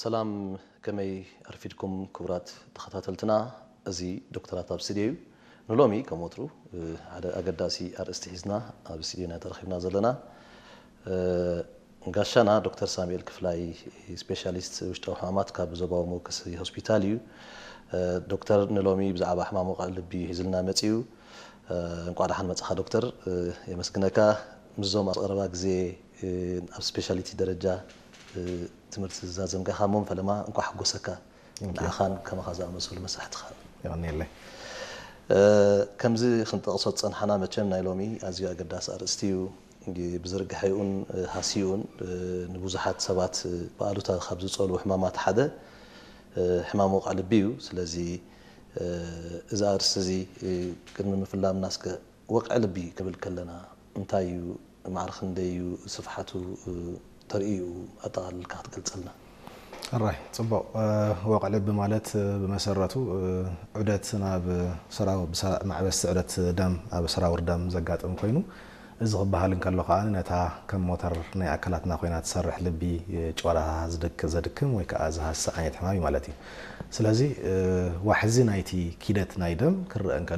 ሰላም፣ ከመይ ኣርፊድኩም ክቡራት ተኸታተልትና? እዚ ዶክተራት ኣብ ስቱድዮ እዩ። ንሎሚ ከም ወትሩ ሓደ ኣገዳሲ ኣርእስቲ ሒዝና ኣብ ስቱድዮና ተረኺብና ዘለና። ጋሻና ዶክተር ሳሙኤል ክፍላይ፣ ስፔሻሊስት ውሽጣዊ ሕማማት ካብ ዞባዊ መወከሲ ሆስፒታል እዩ። ዶክተር፣ ንሎሚ ብዛዕባ ሕማም ወቕዒ ልቢ እዩ ሒዝልና መጺኡ። እንቋዕ ደሓን መጻኻ ዶክተር። የመስግነካ። ምስዞም ኣብ ቀረባ ግዜ ኣብ ስፔሻሊቲ ደረጃ ትምህርቲ ዝዛዘምካ ኻሞም ፈለማ እንኳዕ ሓጎሰካ። ንዓኻን ከማኻ ዝኣመሰሉ መሳሕትኻ። የቐንየለይ። ከምዚ ክንጠቕሶ ዝጸንሓና፣ መቸም ናይ ሎሚ ኣዝዩ ኣገዳሲ ኣርእስቲ እዩ። ብዝርግሐኡን ሃሲኡን ንብዙሓት ሰባት ብኣሉታ ካብ ዝጸልዉ ሕማማት ሓደ ሕማም ወቕዒ ልቢ እዩ። ስለዚ እዚ ኣርእስቲ እዚ ቅድሚ ምፍላምና እስከ ወቕዒ ልቢ ክብል ከለና እንታይ እዩ? ማዕረ ክንደይ እዩ ስፍሓቱ? ተርእዩ ኣጠቓሊልካ ክትገልጸልና። ኣራይ፣ ጽቡቕ። ወቕዒ ልቢ ማለት ብመሰረቱ ዑደት ናብ ሰራው-፣ ብሰራ-፣ ማዕበስቲ ዑደት ደም ኣብ ሰራውር ደም ዘጋጥም ኮይኑ፣ እዚ ክበሃል እንከሎ ከኣ ነታ ከም ሞተር ናይ ኣካላትና ኮይና ትሰርሕ ልቢ ጭዋዳታ ዝድክ-፣ ዘድክም ወይ ከኣ ዝሃስስ ዓይነት ሕማም እዩ ማለት እዩ። ስለዚ ዋሕዚ ናይቲ ኪደት ናይ ደም ክረአ እንከሎ